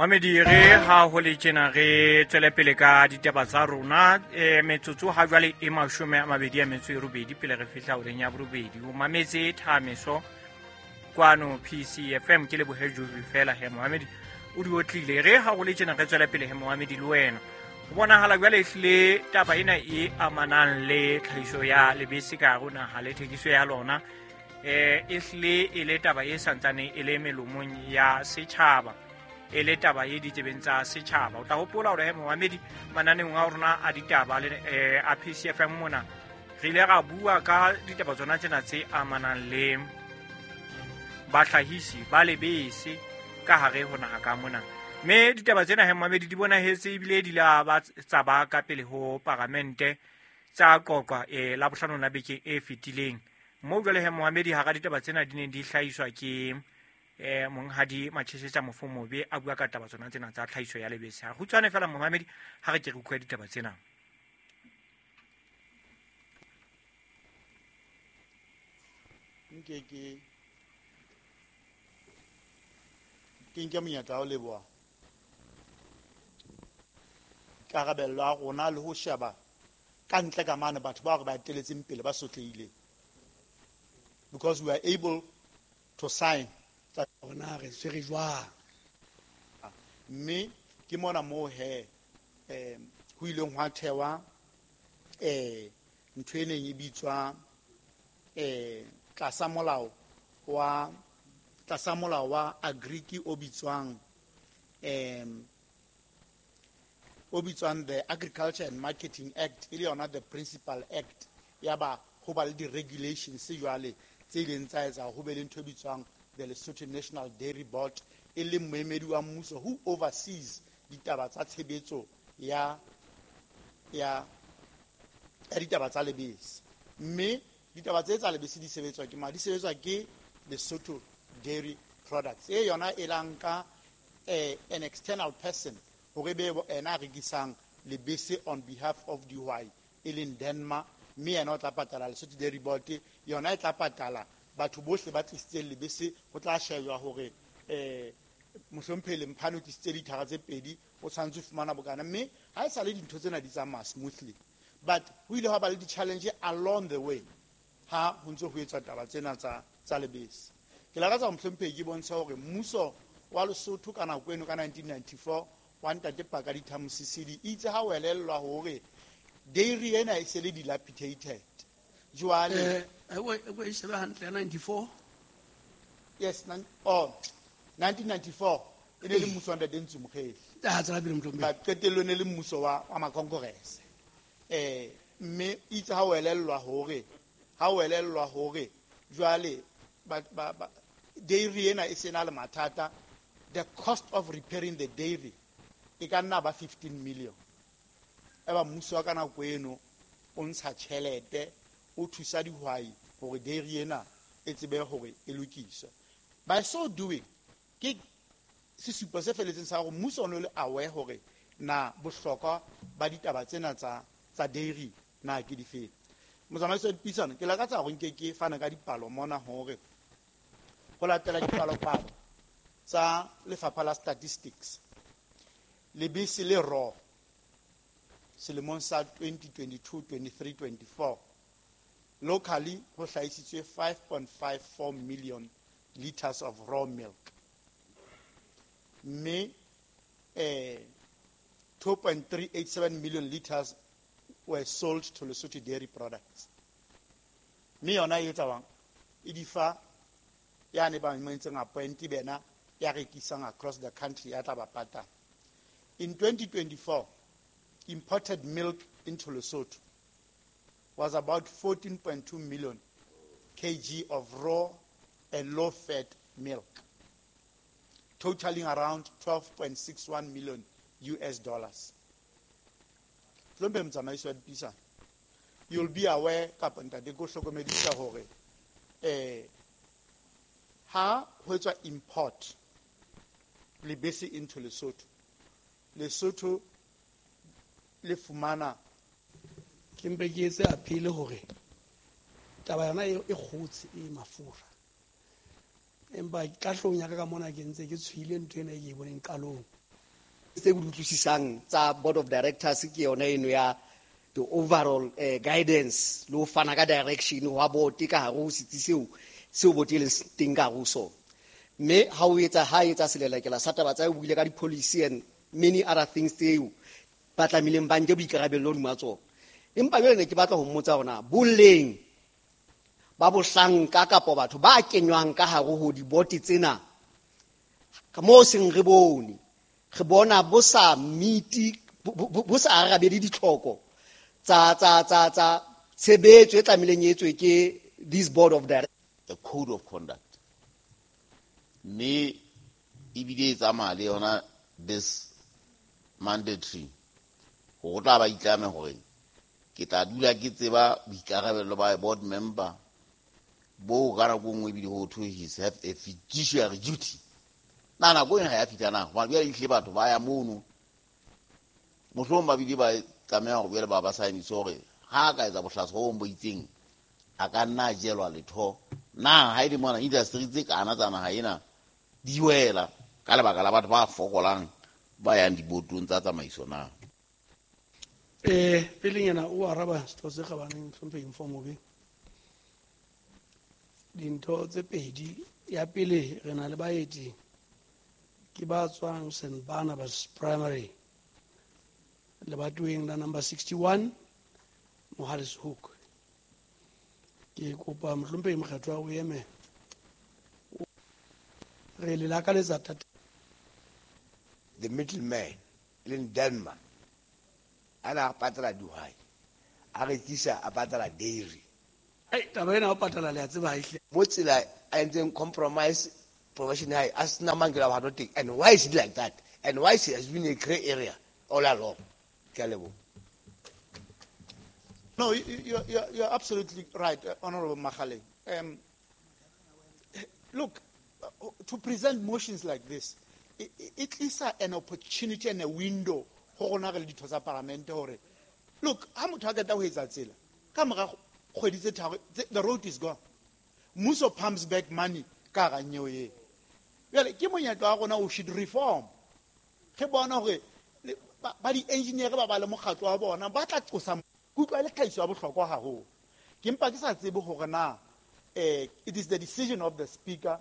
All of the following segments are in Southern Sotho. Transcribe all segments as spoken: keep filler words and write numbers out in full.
Mamedi re ha ho le tjena re tswele pele ka ditaba tsa rona e metsotso ha jwale e mashome a mabedi a metso e robedi pele re fihla horeng ya borobedi. O mametse Thameso kwano P C F M ke lebohe Jovi fela he Mohamedi o di otlile. Re ha ho le tjena re tswele pele he Mohamedi le wena. Ho bonahala jwale ehlile taba ena e amanang le tlhahiso ya lebese ka hare ho naha le thekiso ya lona eh ehlile e le taba e santsane e le melomong ya setjhaba, e le taba e ditsebeng tsa setjhaba. O tla hopola hore he Mohamedi mananeong a rona a ditaba le a P C F M mona re ile ra bua ka ditaba tsona tsena tse amanang le bahlahisi ba lebese ka hare ho naha ka mona. Mme ditaba tsena he Mohamedi di bonahetse ebile di la ba tsa ba ka pele ho paramente tsa qoqwa e la bohlano la beke e fetileng. Mo jwale he Mohamedi hara ditaba tsena di ne di hlahiswa ke eh monghadi Macheshetsa Mofomobe a bua ka taba tsona tsena tsa tlhahiso ya lebese. Ha kgutshwane fela Mohamedi ha re ke re utlwe ditaba tsena. Nke ke ke nke monyetla wa ho leboha karabelo ya rona le ho sheba ka ntle ka mane batho bao re ba eteletseng pele ba sotlehileng, because we are able to sign rona re tshwere jwang. Mme ke mona moo he eh ho ileng hwa thewa eh ntho e neng e bitswa eh tlasa molao wa tlasa molao wa Agriki o bitswang em o bitswang the Agriculture and Marketing Act, e le yona the Principal Act. Ya ba ho ba le di-regulations jwale tse ileng tsa etsa ho be le ntho e bitswang the Lesotho National Dairy Board, e leng moemedi wa mmuso who oversees ditaba tsa tshebetso ya ya ya ditaba tsa lebese. Mme ditaba tse tsa lebese di sebetswa ke mang? Di sebetswa ke Lesotho Dairy Products. E yona e la nka eh, an external person hore be ena a rekisang lebese on behalf of dihwai, e leng Denmark, mme yena o tla patala Lesotho Dairy Board, yona e tla patala batho bohle ba tlisitseng lebese. Ho tla shejwa hore eh mohlomphehile Mphane o tlisitse lithara tse pedi, o tshwanetse ho fumana bokana. Mme ha e sale dintho tsena di tsamaya smoothly, but ho ile hwa ba le di-challenge along the way ha ho ntse ho etswa taba tsena tsa tsa lebese. Ke lakatsa mohlomphehi ke bontshe hore mmuso wa Lesotho ka nako eno ka nineteen ninety-four wa ntate Pakalitha Mosisili itse ha o elellwa hore dairy ena e se le dilapidated. Jwale eh o e shebe hantle ninety-four. Yes, oh nineteen ninety-four e ne le mmuso wa ntate Ntsu Mokgele. Ah, tsela pele mohlomphehi. Ba qetellong ne le mmuso wa wa Makongress. Eh mme itse ha o elellwa hore ha o elellwa hore jwale ba ba dairy ena e sena le mathata, the cost of repairing the dairy e ka nna ba fifteen million. Eba mmuso wa ka nako eno o ntsha tjhelete o thusa dihwai hore dairy ena e tsebe hore e lokiswe. By so doing, ke sesupo se feletseng sa hore mmuso o no le aware hore na bohlokwa ba ditaba tsena tsa tsa dairy na ke difeng. Motsamaisi wa dipuisano, ke lakatsa hore nke ke fane ka dipalo mona hore ho latela dipalopalo tsa lefapha la statistics, lebese le raw selemong sa twenty twenty-two twenty-three twenty-four locally ho hlahisitswe five point five four million liters of raw milk, mme eh two point three eight seven million liters were sold to Lesotho Dairy Products. Mme yona e etsa bang? E di fa yane ba entseng appoint bena ya rekisang across the country ya tla ba patala. In twenty twenty-four, imported milk into Lesotho was about fourteen point two million kilograms of raw and low-fat milk, totaling around twelve point six one million U S dollars. You'll be aware, kapa ntate ko hlokomedisa hore eh ha ho etswa import lebese into Lesotho, Lesotho le fumana ke mpe ke etse appeal hore taba yona e kgotse e mafura, empa ka hlong ya ka ka mona ke ntse ke tshwile ntho ena e ke e boneng qalong. Tse ke di utlwisisang tsa board of directors ke yona eno ya the overall eh, guidance le ho fana ka direction wa board ka hare ho setsi seo seo board e leng teng ka hare ho sona. Mme ha o etsa ha etsa selelekela sa taba tsa o buile ka di-policy and many other things tseo ba tlamehileng ba nke boikarabello hodima tsona. Empa jwale ne ke batla ho mmotsa hore na boleng ba bohlanka kapa batho ba kenywang ka hare ho dibote tsena ka moo seng re bone re bona bo sa meet bo sa arabele ditlhoko tsa tsa tsa tsa tshebetso e tlamehileng e etswe ke this board of directors. The code of conduct mme ebile e tsamaya le yona this mandatory gore o tla ba itlame gore ke tla dula ke tseba boikarabello ba board member bo ka nako nngwe ebile ho thwe he have a fiduciary duty. Na nako ena ha ya fihla na hobane jwale ehlile batho ba ya mono mohlomong ba bile ba tlameha hore jwale ba ba saenise hore ha a ka etsa bohlaswa bo bong bo itseng a ka nna a jelwa letho. Na ha e le mona industry tse kana tsa naha ena di wela ka lebaka la batho ba fokolang ba yang dibotong tsa tsamaiso na? Eh, pelenyana o araba setho se kgabaneng Hlomphehi Mfomobe. Dintho tse pedi, ya pele re na le baeti ke ba tswang Saint Barnabas Primary lebatoweng la number sixty-one Mohale's Hoek. Ke kopa Mohlomphehi Mokgethwa o eme re le lakaletsa thata. The middleman leng Denmark a na patala dihwai a rekisa a patala dairy. Ei, taba ena o patala le a tseba ha ehle. Mo tsela a entseng compromise profession hae a sena mang ke la batho teng. And why is it like that? And why is it has been a grey area all along? Ke a leboha. No, you, you, you're, you're absolutely right, uh, Honorable Makgale. Um, look, uh, to present motions like this, it, it is an opportunity and a window ho rona re le ditho tsa parliament hore, look, ha motho a qeta ho etsa tsela, ka mora kgwedi tse tharo, the road is gone. Mmuso pumps back money ka hara nyewe eo. Jwale, ke monyetla wa rona, we should reform. Re bona hore le, ba, ba di-engineer ba ba le mokgatlo wa bona, ba tla qosa ke utlwa e le tlhahiso ya bohlokwa haholo. Ke mpa ke sa tsebe hore na, eh, it is the decision of the speaker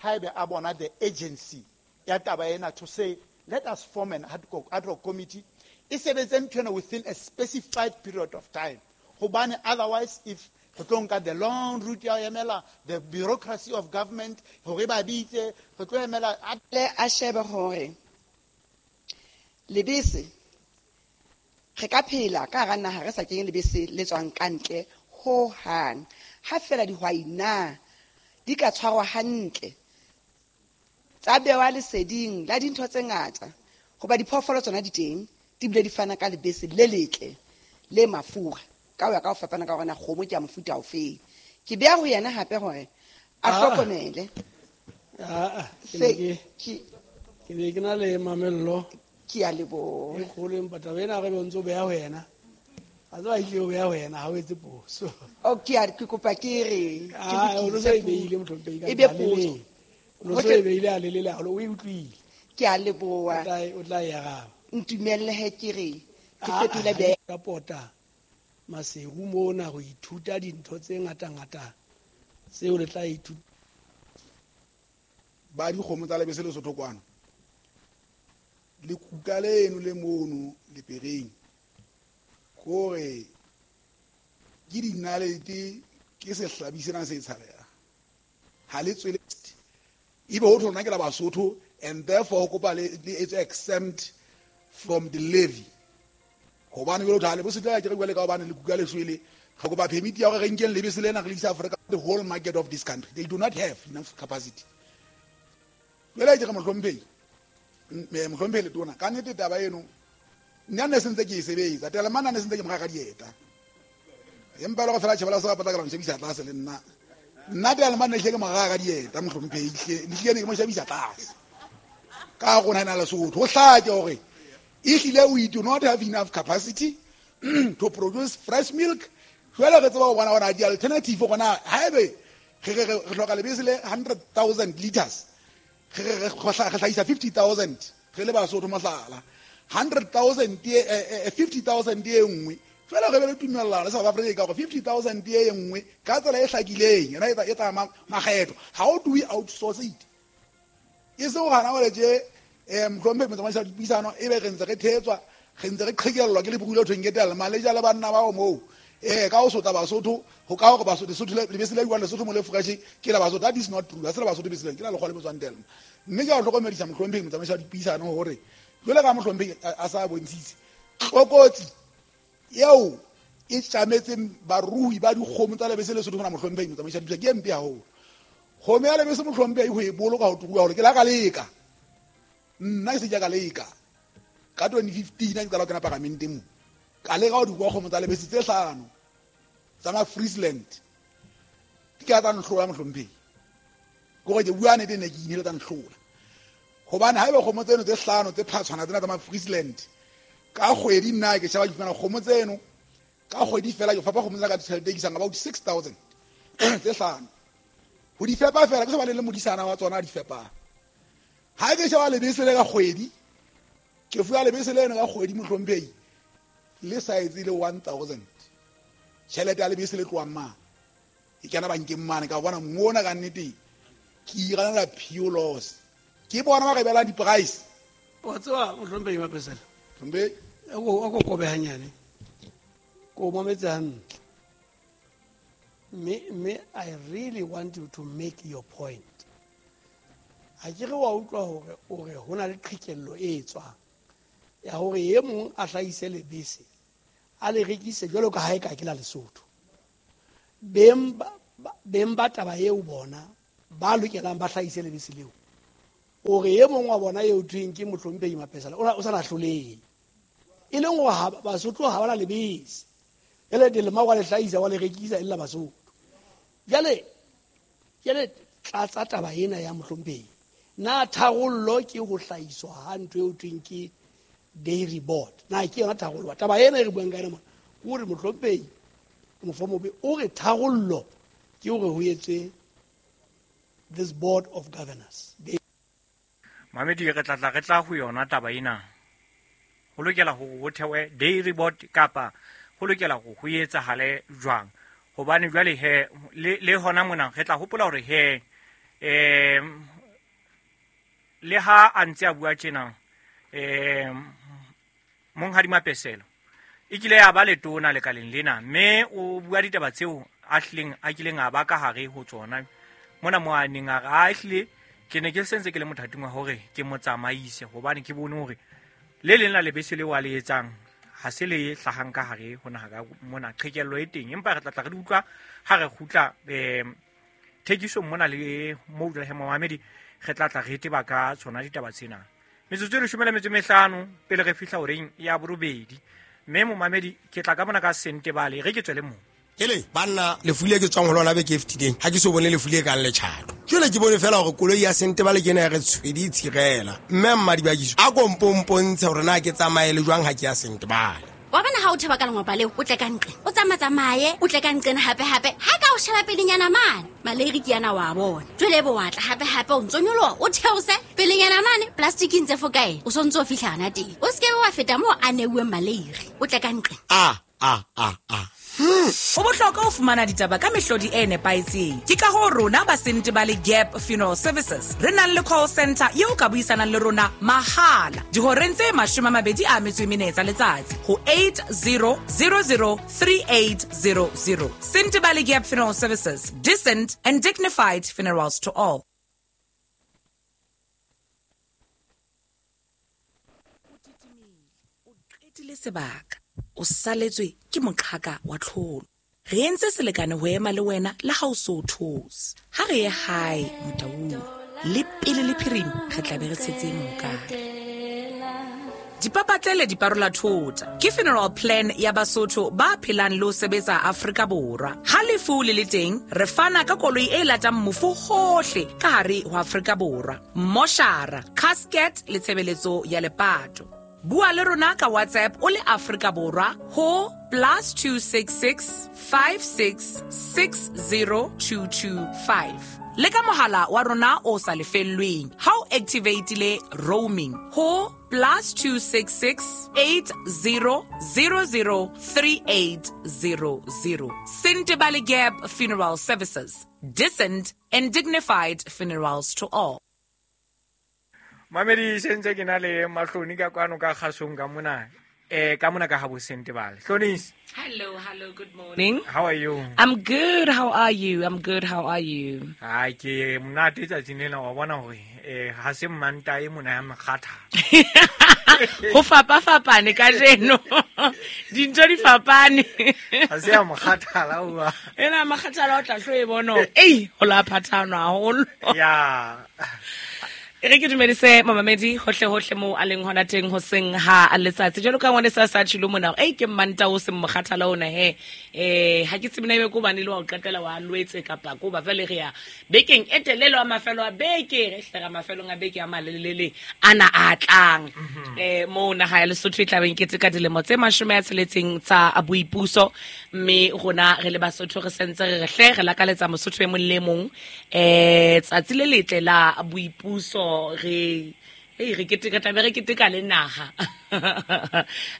haebe a bona the agency ya taba ena to say let us form an ad hoc, ad hoc committee e sebetse ntho ena within a specified period of time. Hobane otherwise if re tlo nka the long route ya ho emela the bureaucracy of government hore ba bitse, re tlo emela a Le a shebe hore lebese re ka phela ka hara naha re sa kenye lebese le tswang ka ntle ho hang. Ha fela dihwai na di ka tshwarwa hantle tsa bewa leseding la dintho tse ngata, hoba diphoofolo tsona di teng di bile di fana ka lebese le letle le mafura ka ho ya ka ho fapana ka hore na kgomo ke ya mofuta ofe. Ke beha ho yena hape hore a Ah. hlokomele. Ah, ah, ke Se ne ke ke ke ne ke na le mamello ke a leboha. E kgolo, empa taba ena re be ntse o beha ho yena. A tseba ehlile o beha ho yena, ha o etse phoso. O, ke a, ke kopa ke re, ke Ah, o no lokise so e puo. beile Mohlomphehi ka E be ntle, a potso. lelele. O no so e beile a lelele haholo, o e utlwile. Ke a leboha. O tla e, o tla e araba. Ntumelle he ke re, ke Ah, fetole ah, be- ka pota Maseru mona ho ithuta dintho tse ngata-ngata tseo le tla ithuta. Ba dikgomo tsa lebese Lesotho kwano. Lekuka leno le mono lepereng kore ke dinalete ke sehlabi sena se tshabehang. Ha le tswele ebe ho thwe rona ke la Basotho and therefore ho kopa le, le etswe exempt from the levy. Hobane jwale ho thwe ha lebese le ke re bua le ka hobane lekuka le shwele, re kopa permit ya hore re nkeng lebese lena re le isa Africa, the whole market of this country. They do not have enough capacity. Jwale ke re mohlomphehi, m-, mohlomphehi Letona, ka nnete taba eno nna ne sentse ke e sebetsa, Telemane ne sentse ke mo reka dieta. Empa e le hore fela tjhe bala sa patla ka la mo shebisa tlase le nna. Nna Telemane ne hlile ke mo reka dieta, mohlomphehi, hle, ne hlile ne ke mo shebisa tlase. Ka rona ena Lesotho, ho hlake hore ehlile we do not have enough capacity to produce fresh milk. Jwale re tseba ho bona hore di-alternative hore na haebe re, re, re, re hloka lebese le hundred thousand liters, re, re, re, re hlahisa fifty thousand, Re le Basotho mohlala hundred thousand fifty thousand e nngwe fela re be le tumellano le South Africa gore fifty thousand e nngwe ka tsela e hlakileng yona e tsa makgetho. How do we outsource it? E se go gana gore tje um mohlomphegi motsamaisi wa dipuisano e be re ntse re thetswa re ntse re qhekellwa ke lebulo thweng ke tela maleja le banna bao moo eh ka o sotla Basotho ho ka hore Basotho Lesotho lebese le buang Lesotho mo le fresh ke la Basotho. That is not true. Ha se la Basotho lebese ke la lekgwa le botswang tela. Mme ke a hlokomedisa mohlomphegi motsamaisi wa dipuisano hore jwale ka mohlomphegi a sa bontshitse tlokotsi eo e tjametseng barui ba dikgomo tsa lebese Lesotho mona mohlomphegi motsamaisi wa dipuisano ke e mpe haholo. Kgomo ya lebese mohlomphegi ho e boloka ho tuka hore ke la ka leka nna ke se ke ka leka ka twenty fifteen ke qala ho kena paramenteng mo ka leka ho di kwa kgomo tsa lebese tse hlano tsa ma Friesland di ka tsa nhlola mohlomphegi ke gore ke bua nnete ne ke inele tsa nhlola hobane haeba kgomo tseno tse hlano tse phatshwana tsena tsa ma Friesland ka kgwedi nna ke sheba ke fumana kgomo tseno ka kgwedi fela ke fapa kgomo tsena ka tjhelete e isang about six thousand tse hlano ho di fepa fela ke se ba le modisana wa tsona a di fepang. Ha ke sheba lebese le ka kgwedi ke fuwa lebese leno ka kgwedi mohlomphegi le sa etse le one thousand tjhelete ya lebese le tlohang mane e kena bankeng mane ka bona mona ka nnete ke iranela pure loss ke bona ba re belang di-price. Wa tseba mohlomphegi Mapesela mohlomphegi a ko kobe hanyane ko mametse hantle mme mme I really want you to make your point. Ha ke re wa utlwa hore o re ho na le qhekello e tswang ya hore e mong a hlahise lebese a le rekise jwalo ka ha e ka ke la Lesotho. Beng beng ba taba eo bona ba lokelang ba hlahise lebese leo o re e mong wa bona eo thweng ke mohlomphegi Mapesela o sa lahlolehe e leng hore Basotho ha ba na lebese jwale dilema wa le hlahisa wa le rekisa e le la Basotho. Jwale jwale tlatsa taba ena ya mohlomphegi na tharollo ke ho hlahiswa ha ntho eo thweng ke dairy board na ke yona tharollo taba ena e re buang ka yona mona ke hore mohlomphegi Mofomobe o re tharollo ke hore ho etswe this board of governors. Mamedi re tla tla re tla ho yona taba ena ho lokela hore ho thewe dairy board kapa ho lokela hore ho etsahale jwang hobane jwale he le, le hona mona re tla hopola hore he eh le ha a ntse a bua tjena eh monghadi Mapesela e kile ya ba letona lekaleng lena mme o bua ditaba tseo a hlileng a kileng a ba ka hare ho tsona mona mo a neng a re a hlile ke ne ke sentse ke le mothating wa hore ke motsamaise hobane ke bone hore le leng la lebese leo a le etsang ha se le hlahang ka hare ho naha ka mona qhekello e teng empa re tla tla re di utlwa ha re kgutla um thekisong mona le mo dula he momamedi re tla tla re teba ka tsona ditaba tsena. Metsotso e leshome le metso e mehlano pele re fihla horeng ya borobedi mme momamedi ke tla ka mona ka Sentebale re ke tswele moo. Ele banna lefu le ke tswang ho lona beke e fetileng ha ke so bone lefu le kang letjhato. Jwale ke bone fela hore koloi ya Sentebale ke ena ya re tshwedi e tshirela mme mmadibakiso a ko mpompontshe hore na ke tsamaye le jwang ha ke ya Sentebale. Wa bona ha o theba ka lengwapa leo o tle ka nqe o tsamatsamaye o tle ka nqena hape hape ha ka o sheba pelenyana mane maleiri ke yana wa bona jwale bo wa tla hape hape o ntso nyoloha o theose pelenyana mane plastic ntse fo kae o sontso o fihla hana teng o se ke wa feta moo a neuweng maleiri o tle ka nqe a a a a Ho bohlokwa ho fumana ditaba ka mehlodi e nepahetseng. Ke ka hoo rona ba Sentebale Gap Funeral Services re nang le call center eo ka buisanang le rona mahala dihoreng tse mashome a mabedi a metso e mene tsa letsatsi ho eight zero zero zero three eight zero zero. Sentebale Gap Funeral Services, decent and dignified funerals to all. O qetile sebaka o saletswe ke moqhaka wa tlholo. Re entse selekane ho ema le wena le ha o so those. Ha re ye hae motaung le pele le phirimi re tla be re tshetse mokare. Dipapatlele di parola thota ke funeral plan ya Basotho ba phelang le ho sebetsa Afrika Borwa. Ha lefu le le teng re fana ka koloi e latang mofu hohle ka hare ho Afrika Borwa. Moshara, casket le tshebeletso ya lepato. Bua le rona ka WhatsApp o le Afrika Borwa ho plus two six six five six six zero two two five. Le ka mohala wa rona o sa lefellweng ha o activatile roaming ho plus two six six eight zero zero zero three eight zero zero. Sentebale Gap Funeral Services. Decent and dignified funerals to all. Mamedi sentse ke na le Mahloni ka kwano ka kgasong ka mona. Eh, ka mona ka ha bo Sentebale. Hlonis. Hello, hello, good morning. How are you? I'm good. How are you? I'm good. How are you? Ai ke monate tsatsing lena wa bona hore eh ha se manta e mona ya mokgatha. Ho fapa fapane ka jeno. Dintho di fapane. Ha se ya mokgathala wa. Ena mokgathala o tla hlo e bona. Ei, ho la phathanwa haholo. Ya. E re ke dumedise mamamedi hohle hohle moo a leng hona teng hoseng ha letsatsi. Jwalo ka ngwane sa sa tjhilo mona, ei ke mmanta o seng mokgathala ona he. Eh ha ke tsebe na ebe ko bane le wa o qetela wa lwetse kapa ko ba fele re ya bekeng e telele wa mafelo a beke re hlera mafelong a beke a malelele ana a tlang. Eh mo naha ya Lesotho e tlabeng ke tse ka dilemo tse mashome a tsheletseng tsa boipuso, mme rona re le Basotho re sentse re re hle re lakaletsa Mosotho e mong le mong eh tsatsi le letle la boipuso. Re hey re keteka tlabe re keteka le naha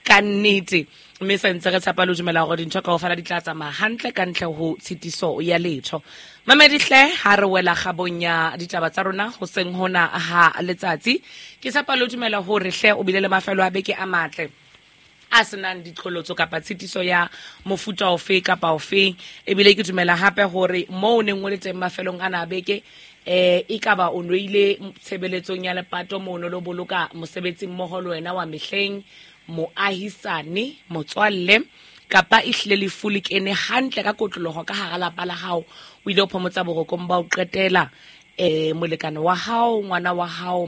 ka nnete, mme sentse re tshepa le dumela hore dintho kaofela di tla tsamaya hantle ka ntle ho tshitiso ya letho. Mamedi hle ha re wela kgabong ya ditaba tsa rona hoseng hona ha letsatsi, ke tshepa le dumela hore hle o bile le mafelo a beke a matle a senang diqholotso kapa tshitiso ya mofuta ofe kapa ofe. Ebile ke dumela hape hore moo o neng o le teng mafelong ana a beke eh ekaba o noile tshebeletsong ya lepato mono lo boloka mosebetsi mmoho le wena wa mehleng, moahisane, motswalle, kapa ehlile lefu le kene hantle ka kotloloho ka hara lapa la hao, o ile o phomotsa borokong ba o qetela eh molekane wa hao, ngwana wa hao,